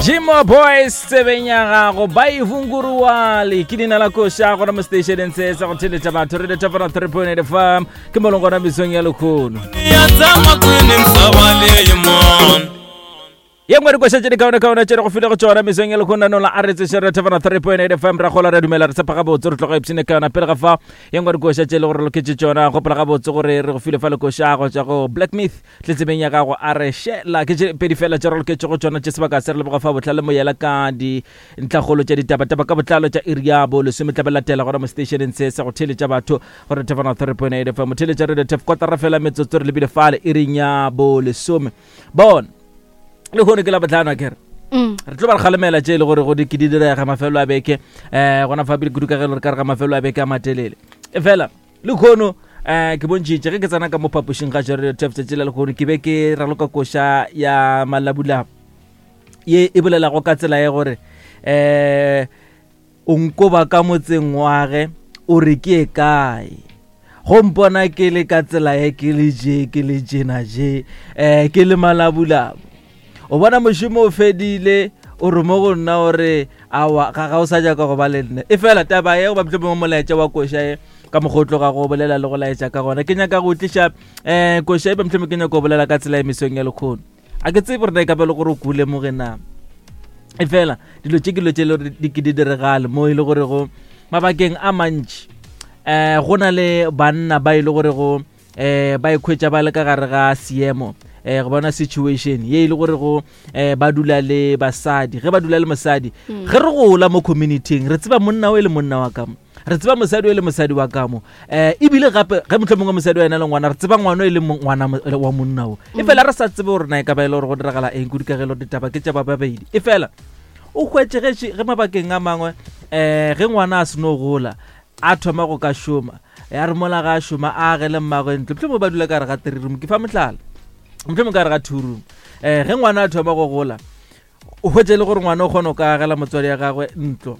Jimo Boys tsebeng ya gago ba e vunguruwale ke leina la koša gona mo stationeng se sa go theletša batho re letša 3.8 fm ke mo leng gona mesong ya lekgono Ya tshama kwini misava leyi mon ye nngwe dikoša tše dikaonekaone tše re go file go tšona mesong ya lekgono nola a re tseše re thefana 3.8 fm ra gola re dumela re tshepa gabotse re tloga ipshine ka yona pele ga fa ye nngwe dikoša tše e le gore loketše tšona gopola gabotse gore re go file fa lekoša go tšwa go Black Myth tletsebeng ya gago a re šela ke tše pedi fela tše re loketšego tšona tše sebaka se re leboga fa bohlale moyela ka dintlhakgolo tša ditabataba ka botlalo tša iri ya bo lesome tla be latela gona mo stationeng se sa go theeletša batho gore thefana 3.8 fm theeletša radio tef kotara fela metsotso re lebile fale iring ya bo lesome bona le kgone ke la botlhano kere re tlo ba re kgalemela tše e le gore go di ke di direga mafelo a beke um gona fa pele kudu ka ge le re ka re ga mafelo a beke a matelele e fela le kgono um ke bontšhitše ge ke tsena ka mo phapošing ga radio tef tšatši la lekgono ke be ke raloka koša ya malabulabo ye e bolelago ka tsela ya gore um O nkoba ka motseng wage, o re ke ye kae? Go mpona ke le ka tsela ye ke le je, ke le jena je, eh, ke le malabulabu. O bona mošomo o fedile, o re mo go nna o re awa ga ga o sa nyaka go ba le nna. E fela taba ye goba mohlomongwe molaetša wa koša ye ka mokgwa o tloga go bolela le go laetša ka gona. Ke nyaka go tliša eh koša e ba mohlomongwe ke nyaka go bolela ka tsela e mesong ya lekgono. A ke tsebe gore na e ka ba le gore o ko lemoge na. E fela dilo tše ke dilo tše le gore di ke di diregale mo e le gore go mabakeng a mantši um go na le banna ba e le gore go um ba ikhwetša ba le ka gare ga seemo um go bona situation ye e le gore go um ba dula le basadi ge ba dula le mosadi ge re gola mo communityng re tseba monna o e le monna wa ka mo re tseba mosadi o e le mosadi wa ka mo um ebile gape ge motlho mongwe mosadi wa ena le ngwana re tseba ngwana e le ngwana wa monna o e fela re sa tsebe gore na e ka ba e le gore go diragala eng kudu ka ge e le gore ditaba ke tša ba babedi e fela o hwetše ge ge mabakeng a mangwe um ge ngwana a seno gola a thoma go ka šoma ya re mola ga a šoma a agele mmagwe ntlo mohlomongwe ba dula ka re ga three room ke fa mohlala mohlomongwe ka re ga two room um ge ngwana a thoma go gola o hwetše e le gore ngwana o kgona go ka agela motswadi ya gagwe ntlo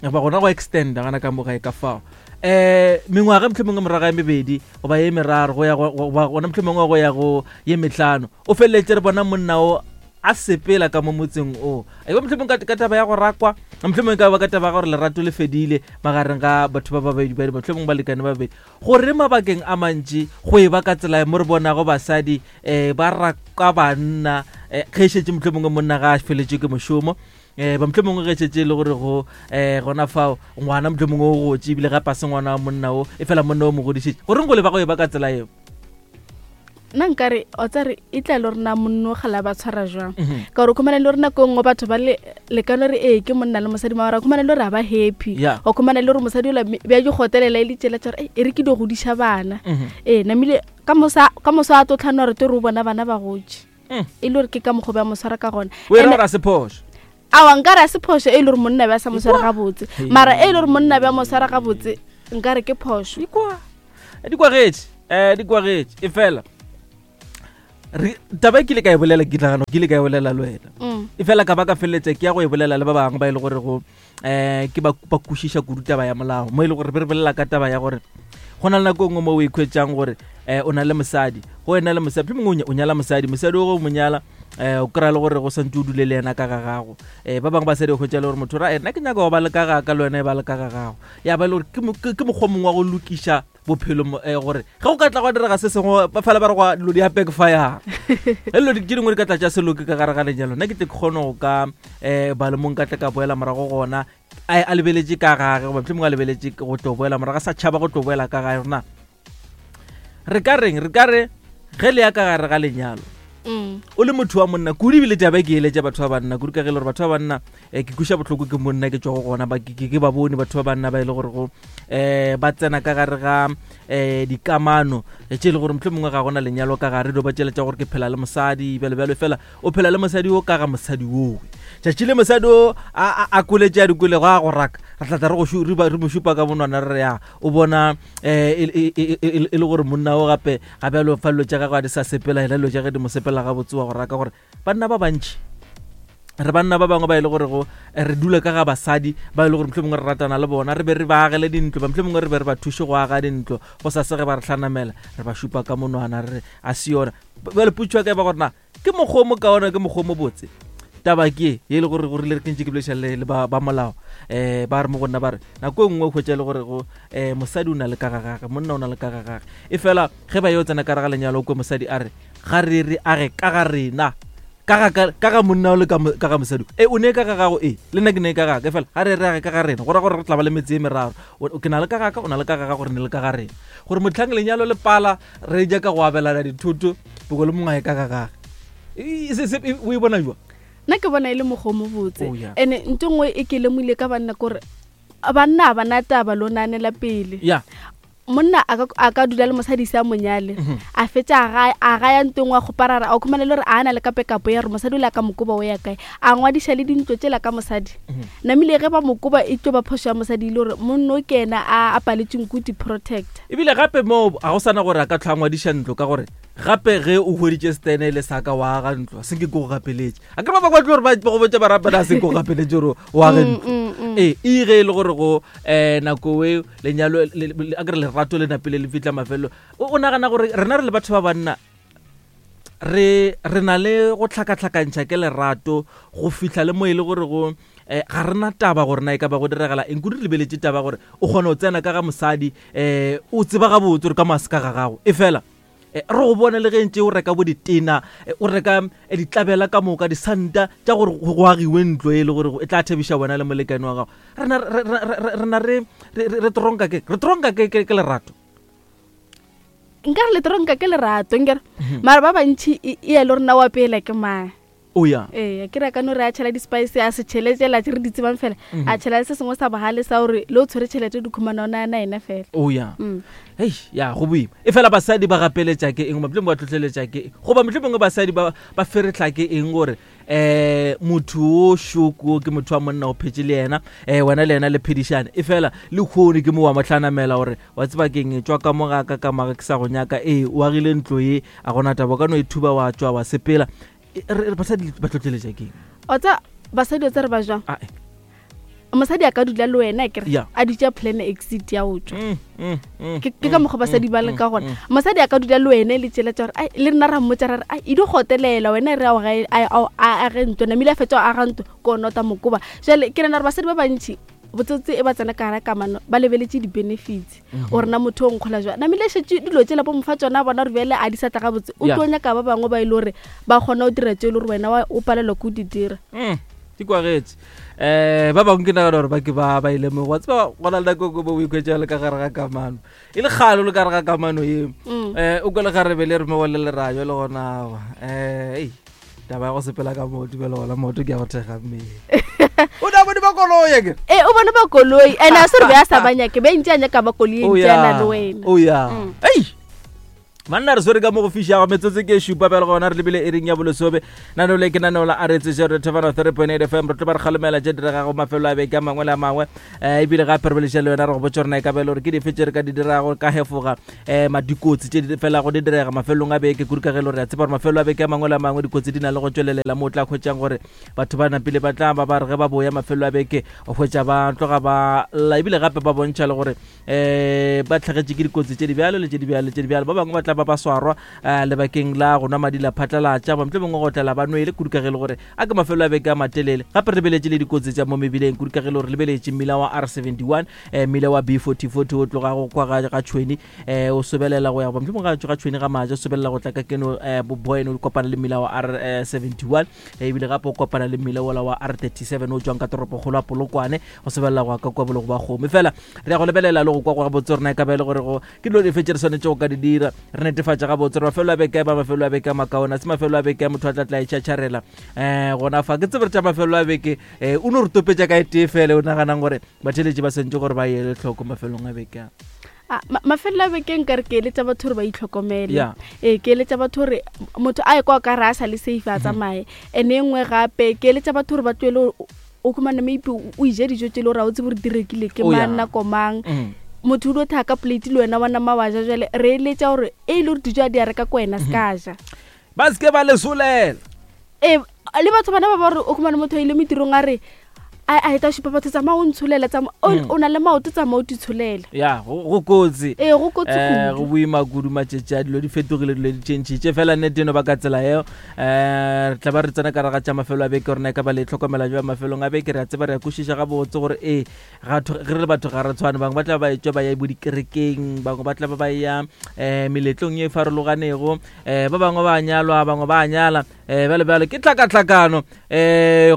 goba gona go extenda gana ka mogae ka fao um mengwaga mohlomongwe morago ya mebedi goba ye meraro go ya goba gona mohlomongwe go ya go ye mehlano o feleletše re bona monna o a sepela ka mo motseng o e ba mohlomongwe ka taba ya go rakwa mohlomongwe ka ba ka taba ya gore lerato le fedile magareng ga batho ba babedi ba mohlomongwe balekane ba babedi Gore mabakeng a mantši go e ba ka tsela mo re bonago basadi um ba raka banna um ge e šetše mohlomongwe monna ga a feletšwe ke mošomo um ba mohlomongwe ge šetše e le gore go um gona fao ngwana mohlomongwe o gotše ebile gape a se ngwana wa monna o e fela monna o mo godišetše goreng go le ba go e ba ka tsela eo nna nkare o tsare e tla le rena monno gala ba tshwara jwang mhm. ka gore o khumana le rena ko nngwe batho ba le lekano re ee ke monna le mosadi mara khumana le gore ga ba happy o khumana le gore mosadi ola bja di gotelela e le tsela tsa gore e re ke di godiša bana mhm. ee namile ka mosa ka mosa a tlo tlhano re te re o bona bana ba gotše mm. e le gore ke ka mokgwa ba mo tshwara ka gona o era gore a se phošo awa nkare a se phošo e le gore monna bja sa mo tshwara gabotse mara e le gore monna bja mo tshwara gabotse nkare ke phošo di kwagetše um di kwagetše e fela taba e ke ile ka e bolela ke nagana ke ile ka e bolela le wena mm. e fela ka ba ka feleletša ke ya go e bolela le ba bangwe ba e le gore go um ke ba kwešiša kudu taba ya molao mo e le gore be re bolela ka taba ya gore go na le nako e nngwe mo o ikhwetšang gore um o na le mosadi go ena le mosadi mongwe o nyala mosadi mosadi o go mo nyala um o kry-a le gore go santse o dule le yena ka ga gago um ba bangwe basadi o hwetša le gore motho ra nna ke nyaka go ba le ka ga ka le wena e ba le ka ga gago ya ba e le gore ke mokgwa mongwe wa go lokiša bophelo eh, gore ge go ka tla gwa direga se sengwe ba fela ba re gwa dilo di a backfire ge dilo tše dingwe di ka tla tša seloke ka gare ga lenyalo nna ke tle ke kgone go ka um ba le mong ka tle ka boela morago gona a lebeletše ka gage goba mohlomongwe a lebeletše go tlo boela morago a sa tšhaba go tlo boela ka gae rona re ka reng re ka re ge le ya ka gare ga lenyalo mm. o le motho wa monna kudu ebile taba e ke eletša batho ba banna kudu ka ge e le gore batho ba banna um ke kweša bohloko ke monna ke tšwago gona ke ba bone batho ba banna ba e le gore go um ba tsena ka gare ga um dikamano tše e le gore motlho mongwe ga gona lenyalo ka gare do ba tšeletša gore ke phela le mosadi bjalo bjalo fela o phela le mosadi o ka ga mosadi owe tšatši le mosadi o a koletše a dikolego a go raka re tlatla re mo šupa ka monwana re re ya o bona um e le gore monna o gape ga bjalo fa dilo tša gagwe a di sa sepela ena dilo tša ge di mo sepela gabotse wa go raka gore banna ba bantši re banna ba bangwe ba e le gore go re dula ka ga basadi ba e le gore mohlomongwe re ratana le bona re be re ba agele dintlo ba mohlomongwe re be re ba thuše go aga dintlo go sa sege ba re hlanamela re ba šupa ka monwana re re a se yona bjale potšo ya ka e ba gore na ke mokgwa o mokaone ke mokgwa o mobotse. Taba ke ye e le gore go rile re ke ntše ke bolediša le ba ba molao um ba re mo go nna ba re nako e nngwe o hwetša e le gore go um mosadi o na le ka ga gage, monna o na le ka ga gage. E fela ge ba yo tsena ka gare ga lenyalo o kwe mosadi a re ga re re a re ka ga rena ka ga ka ka ga monna o le ka ka ga mosadi e o ne ka ga gago e le nna ke ne ka ga ka fela ga re re a re ka ga rena go ra gore re tla ba le metse e meraro ke na le ka ga ka o na le ka ga gago re ne le ka ga rena gore motlhang lenyalo le pala re ja ka go abelana dithoto boko le mongwe a ye ka ga gage o e bona jwa nna ke bona e le mokgwa o mobotse oh, and-e nto nngwe e ke lemogile ka banna kore banna ga bana taba lo naanela pele yeah monna a ka dula le mosadi se a monyale mhm. a fetša a gaya ntong wa kgoparara a o khumana le gore a na le ka pekapo ya gore mosadi o le a ka mokoba o ya kae a ngwadiša le dintlo tšela ka mosadi mhm. namile ge ba mokoba e tlo ba phošo ya mosadi e le gore monno o ke ena a paletseng ko di-protect ebile gape moo ga go sana gore a ka tlhwa a ngwadiša ntlo ka gore gape ge o hweditše stene le saka wa aga ntlo se ke ko go gapeletše a ke ba bangwe ba tlo gore ba go botša ba rapela se ke go gapeletše gore o age mm, ntlo mm, mm. ee e ge e le gore go um nako e lenyalo a kere lerato le napile le fitla mafelelo o nagana gore rena re le batho ba banna re re na le go tlhakatlhakantšha ke lerato go fihla le mo e le gore go um ga rena taba gore na e ka ba go diregala eng kudu re lebeletše taba gore o kgona go tsena ka ga mosadi um o tseba gabotse gore ka mase ka ga gago e fela Eh, re go bone le ge ntse o reka bo ditena eh, o reka eh, ditlabela ka moka disanta tša gore go agiwe ntlo e le gore e tla thabiša wena le molekane wa gago rena re tronka ke re tronka ke ke lerato nka re le tronka ke lerato nkere mhm. mara ba bantšhi e ya le rena wa pela ke mang o ya ee ke reka no re a tšhela di-spice a se tšhele tsela tse re di tsebang fela mm. a tšhela se sengwe sa bogale sa gore le o tshwere tšhelete di khumana o nana ena fela o ya mm. hei ya go boima e fela basadi ba gapeletša ke eng mohlomongwe ba tlhotlheletša ke eng goba mohlomongwe basadi ba ba feretlha ke eng gore um motho o šoko ke motho wa monna o phetše le yena um wena le yena le phedišane e fela le kgone ke mo wa motlhanamela gore wa tseba keng e tšwa ka mo ga ka ka maga ke sa go nyaka ee o agile ntlo ye a gona taba o ka no e thuba wa tšwa wa sepela basadi ba tlotleletša keng o tsa basadi o tsa re ba jwang ah, eh. mosadi a ka dula le wena kere a dutse plan exit ya go tswa mm, mm, mm, ke ka mokgwa basadi ba le ka gona mosadi a ka dula le wena le tsela tsa gore ai le rena ra mmotsa ra re ai e di gotelela wena re a age ntlo namile a fetsa aga ntlo ko nota mokoba jale ke nana gore basadi ba bantši botsotse e ba tsena ka gara kamano ba lebeletše di-benefits mhm. gore na motho o nkgola jwa namile šetse dilo tsela bo mofa tsona bona gore bjale a di sa tla gabotse o tlo nyaka ba bangwe ba e le gore ba kgona go dira tse e le gore wena o palelwa ke o di dira mm, di kwagetše um ba bangwe ke nagana gore ba ke ba ba ile mo wa tseba go na le nako ko bo o ikhwetša le ka gare ga kamano e le kgale o le ka gare ga kamano eo um o kwa le garebe le re mo le lerajo le gona um ei taba ya go sepela ka maoto bjale gona maoto ke ya go thekga mmele o ne a bone ba koloi akere ee o bone ba koloi and a se re be a sa ba nyake be ntse a nyaka ba koloi e ntse a na le wena o ya mm. ei manna re swere ka mo go fišago metsotso ke šupa bjale gona re lebile e reng ya bolosobe nano le ke naneo la aretse zero thefana 3.8 fm re tlo ba re kgalemela tše diregago mafelo a beke a mangwe le a mangwe um ebile gape re bolešang le wena re go botsa gore na e ka ba e le gore ke dife tše re ka di dirago ka hefoga um dikotsi tše di felago di direga mafelelong a beke kudu ka ge e le gore re a tseba gore mafelo a beke a mangwe le a mangwe dikotsi di na le go tšwelelela mo o tla hwetšang gore batho ba napile ba tla ba ba re ge ba boya mafelo a beke o hwetša ba tloga ba lla ebile gape ba bontšha le gore um ba tlhagetše ke dikotsi tše di bjalo le tše di bjalo tše di bjalo ba bangwe ba tla ba ba swarwa um lebakeng la go nwa madi la phatlalatša ba mohlomongwe go tlela ba nwele kudu ka ge e le gore a ke mafelo a beke a matelele gape re lebeletše le dikotsi tša mo mebileng kudu ka ge e le gore lebeletše mmila wa R71 um mmila wa B4040 o tlogago kwa ga ga tšhweni um o sobelela go ya goba mohlomongwe ga ga tšhweni ga maja o sobelela go tla ka keno um boboene o kopana le mmila wa R71 ebile gape o kopana le mmila wola wa R37 o tšwang ka toropokgolo ya Polokwane go sobelela go ya ka kwa bologo ba kgomo fela re ya go lebelela le go kwa gabotse gore na e ka ba e le gore go ke dilo dife tše re swanetše go ka di dira re netefatša gabotse gore mafelo a beke ba mafelo a beke a makaone a se mafelo a beke a motho a tla tla e tšhatšharela um gona fa ke tsebe re tša mafelo a beke um o no re topetša ka e tee fele o naganang gore batheletši ba swantše gore ba ele tlhoko mafelong a beke a Ah, mafelelo a beke nka re ke eletša batho gore ba itlhokomele ee ke eletša batho gore motho a ye kwa ka re a sa le safe a mhm. tsamaye and e nngwe gape ke eletša batho gore ba tloele o khumana maybe o ije dijo tse le gore ga o tsebe gore di rekile ke oh, mang nako mang mm. motho o dio thaka plate le wena wa nama wa ja jale re eletša gore e le gore dijo a di a reka ko wena se ka mhm. ja ba seke ba lesolela ee le batho bana ba ba gore o khumane motho a ile metirong a re A a ta šupa batho, tsamaya o ntsholela, tsamaya o na le maoto, tsamaya o titsholela. Ya, go kotsi. Ee, go kotsi kudu. Go boima kudu matšatši a, dilo di fetogile, dilo di tšhentšhitše fela nnete no ba ka tsela eo. Re tla ba re tsena ka raga tša mafelo a beke, rena e ka ba le tlhokomela jwa mafelong a beke. Re a tseba, re a kwešiša gabotse gore ee, ge re le batho ga re tshwane. Bangwe ba tla ba etšwa ba ya bo dikerekeng, bangwe ba tla ba ba ya meletlong ye e farologanego, ba bangwe ba nyalwa, bangwe ba nyala, bjale bjale ke tlhakatlhakano.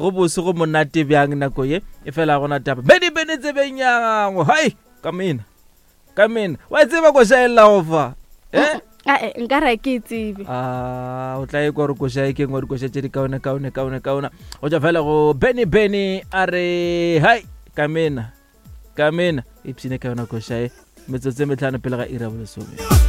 Go bose, go monate bjang nako ye e fela gona taba bene bene tsebeng ya gago. Hai, ka mena ka mena, wa tseba koša e llago fa? Ae, nka re ke e tsebe. A o tla e kwa gore koša e ke ngwe dikoša tše di kaone kaone kaone kaone go tšwa fela go bene bene a re hai ka mena ka mena. Ipshine ka yona koša e, metsotso e metlhano pele ga ira bolesome.